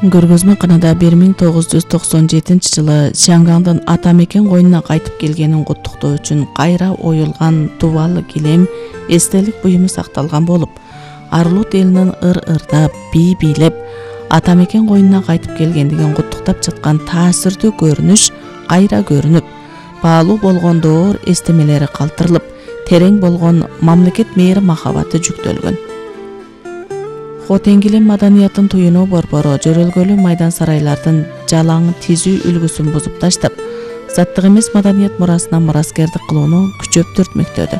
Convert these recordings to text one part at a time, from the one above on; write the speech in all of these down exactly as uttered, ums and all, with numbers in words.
Көргөзмө канада бир миң тогуз жүз токсон жетинчи жылы Шангандын ата мекен коюнуна кайтып келгенин куттуктоо үчүн кайра оюлган дубалы килем эстелик буюму сакталган болуп, Арлут элинин ыр-ырдап, бий бийлеп, ата мекен коюнуна кайтып келгендигин куттуктап жаткан таасирдүү көрүнүш кайра көрүнүп, баалуу болгон доор эстемелери калтырылып, терең болгон мамлекет мээри махабаты жүктөлгөн. Хотен килем маданиятын туюнуу борбору жөрөлгөлүү майдан сарайлардын жалаң тизүү үлгүсүн бузуп таштап, заттык эмес маданият мурасына мураскердик кылууну күчөп түртмөктөдү.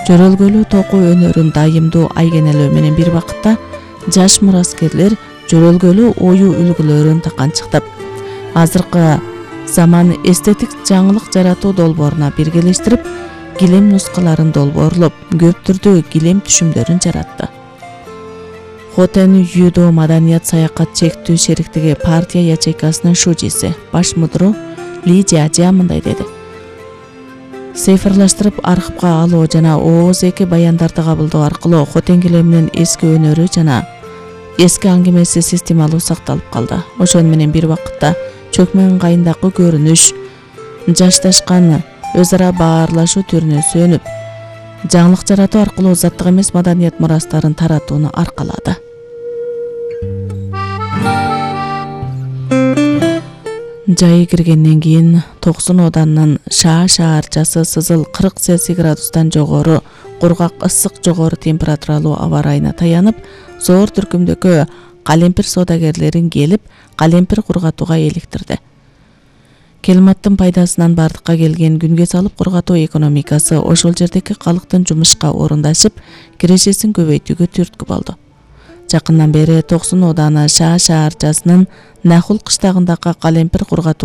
Жөрөлгөлүү току өнөрүн дайымдуу айгенелөө менен бир убакытта жаш мураскерлер жөрөлгөлүү оюу үлгүлөрүн таканчыктап, азыркы заман эстетик жаңылык жаратуу долбооруна биргелештирип, килем нускаларын долбоорлоп, көп түрдүү килем түшүмдөрүн жаратты. Хотен Юдо маданият саякат чектүү шериктиги партия ячейкасынын шужиси, баш мудру Ли Жажа мындай деди. Цифрлаштырып архивга алуу жана ооз эки баяндарды кабылдоо аркылуу Хотен килеминин эски өнөрү жана эски аңгемеси системалуу сакталып калды. Ошону менен бир убакытта чөкмө ыңгайындагы көрүнүш, жашташкан өз ара баарлашуу түрүнө сөнүп, жаңылык жаратуу аркылуу заттык эмес маданият мурастарын таратууну аркалады. Жайы киргенден кийин токсон оданынын шаа шаарчасы сызыл кырк Цельсий градустан жогору, кургак ысык жогору температуралуу аба ырайына таянып, зор түркүмдөгү калемпир соодагерлерин келип, калемпир кургатууга эликтирди. Келматтын пайдасынан бардыкка келген күнгө салып кургатуу экономикасы ошол жердеги калктын жумушка орундашып, кирешесин көбөйтүүгө түрткү болду. Жакындан бери токсон ооданы шаа шаарчасынын Нахул кыштагындагы калемпир кургатуу